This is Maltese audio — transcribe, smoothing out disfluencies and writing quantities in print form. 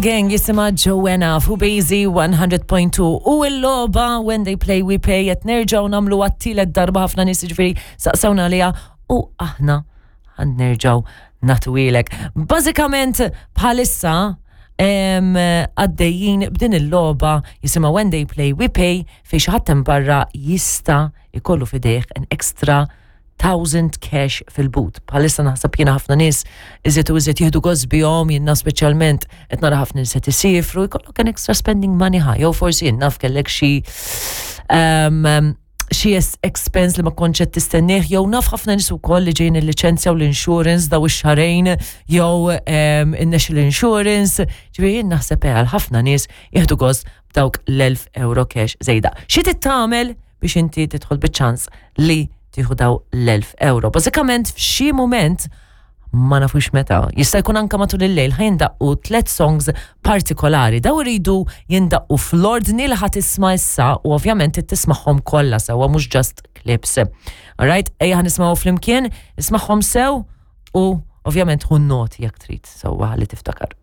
Gang jisimha Joanna fuq Bazy 100.2 u l-logħba When They Play We Pay qed nerġgħu nagħmlu għat-tielet darba ħafna nies jiġifieri saqsewna għaliha u aħna ħan nerġgħu nagħtuhielek. Bażikament bħalissa għaddejjin b'din il-logħba jisimha When They Play We Pay fejn xi ħadd hemm barra jista' jkollu f'idejh an extra 1000 cash fil-but. Bħalissa naħseb jiena ħafna nies iżjed u iżjed jieħdu gost bihom, jiena speċjalment qed nara ħafna nies qed isifru, jkollok an extra spending money ħa, jew forsi jien naf kellek xi xi expense li ma kontx qed tistennieh, jew naf ħafna nies ukoll li ġejjin il-liċenzja u l-insurance daw ix-xahrejn jew in-national insurance, ġifieri jien naħseb eh, għal ħafna nies jieħdu gost b'dawk l-1000 euro cash żejda. Xi trid tagħmel biex inti tidħol biċ-ċans li tieħu daw l-1000 euro. Bażikament f'xi mument ma nafux meta, jista' jkun anka matul il-lejl ħa jindaqqu tliet songs partikolari. Daw iridu jindaqqu fl-ordni li ħa tisma' issa u ovvjament trid tismagħhom kollha sewwa mhux just clips. Alright, ejja ħa nismgħu flimkien, ismagħhom sew u ovvjament ħu noti jekk trid sewwa li tiftakar.